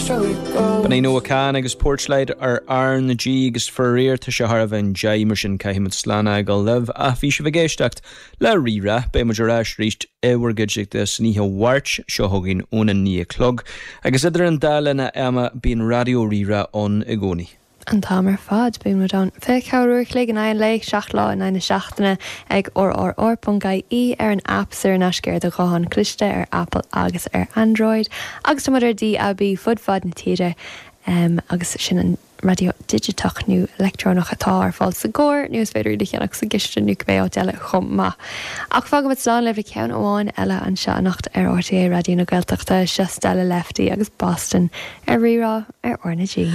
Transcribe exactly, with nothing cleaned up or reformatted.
B'in é Noah Kahan agus Porchlight ar R na G agus faraor tá sé thar am deich mar sin caithfimid slán a fhágáil libh ach bhí sibh ag éisteacht le Rí-Rá beidh muid ar ais arís i bhur gcuideachta san oíche Mháirt seo chugainn óna naoi a chlog agus idir an dá linn ama bíonn Raidió Rí-Rá ann i gcónaí. An t-am ar fad bíonn muid ann fiche ceathair uair a chloig in aghaidh an lae seacht lá in aghaidh na seachtaine ag rrr.ie ar an app saor in aisce ar do ghuthán cliste ar Apple agus ar Android agus tá muid ar DAB fud fad na tíre um, agus sin an raidió digiteach nó leictreonach atá ar fáil sa gcarr nó is féidir le cheannach sa gcistin nó cibé áit eile chomh maith. Ach fágaimid slán libh le ceann amháin eile anseo anocht ar RTÉ Raidió na Gaeltachta seo Stella Lefty agus Boston ar Rí-Rá ar R na G.